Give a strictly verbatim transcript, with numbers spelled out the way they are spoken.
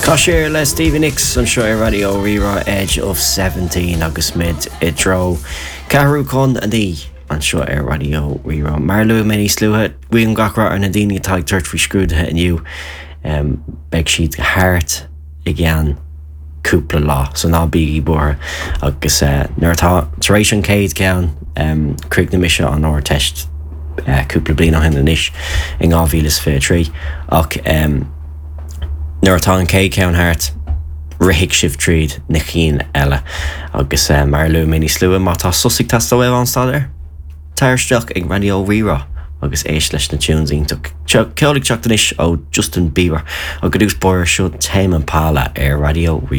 Tá sé le Stevie Nicks anseo ar Raidió Rí-Rá Edge of Seventeen agus muid i dtreo ceathrú chun a naoi anseo ar Raidió Rí-Rá. Mar luaigh mé níos luaithe guím gach rath ar na daoine atá ag tabhairt faoi scrúduithe inniu um, beidh siad thart i gceann cúpla lá so ná bígí buartha agus uh, nuair atá tar éis an chéad ceann um, chríochnaigh mise an Ardteist uh, cúpla bliain ó shin anois in dhá mhíle is fiche trí ach um, nuair atá an chéad ceann thart rithfidh sibh tríd na cinn eile agus uh, mar luaigh mé níos luaithe má tá sos ag teastáil ón staidéar. Tar isteach ag Raidió Rí-Rá agus éist leis na tunes iontach. Ceol ag teacht anois ó Justin Bieber agus dús bóir seo Tame Impala ar Raidió Rí.